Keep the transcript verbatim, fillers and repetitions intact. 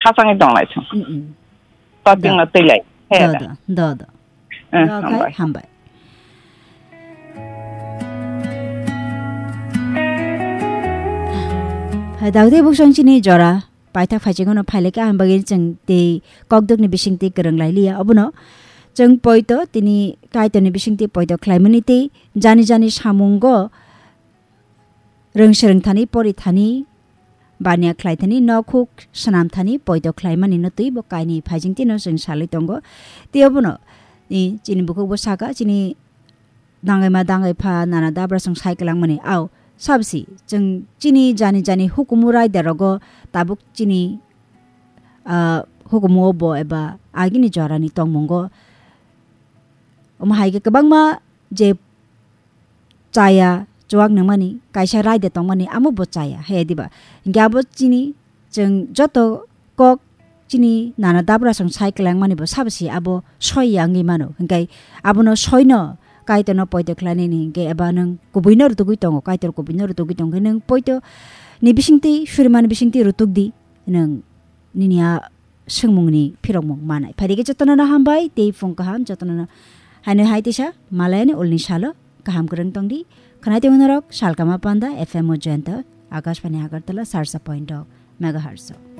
Asangwi tonglai song. Mm, mm. Toting Do. No twi lai. He Do, da. Do, do, do. Eh, Do khai, hambai. Hambai. Hai, dagde buksong chini jora. Paithak phaichingno phaileka, ang bagwi chwng tei kokdokni bisingtwi kwrwng lai liya. Obono chwng poito tini Kaitorni bisingtwi poito khlaimani tei jani jani samungo rwng swrwng thani, pori thani, baniya khlai thani, nokhuk swnam thani poito khlaimani no twi bo kainwi phaijing tino chwng salwi tongo. Tei obono, i, chini bukhuk bo saka, chini dangwi ma dangwi pha nana dabra chwng sai kwlangmani. Au, sabsi chwng chini jani jani hukumu raida rogo tabuk chini, ah, hukumu o bo eba agini jorani tongmungo. Omo hai khe kwbangma je chaya, chuak nangmani, kaisa raida tongmani, amo bo chaya, he diba? Hinkhe abo chini, chwng joto kok chini nana dabra chwng sai kwlangmani bo sabsi abo soi ya wngwi mano. Hinkhe abono soino Kaitorno poito khlainani hinkhe eba nwng kubuino rutugwi tongo, Kaitor kubuino rutugwi tongkhe nwng poito ni bisingtwi, surimani bisingtwi rutugdi nwng nini a swngmungni phirokmung manai. Phaidi khe jotono no hambai, tei phung kaham jotono no haino hai teisa malayani ulni salo kaham kwrwng tongdi. Khwnai tongo norok Salkama Panda F M o Jayanta, Akashbani Agartala, sarsa point dok megahertz o.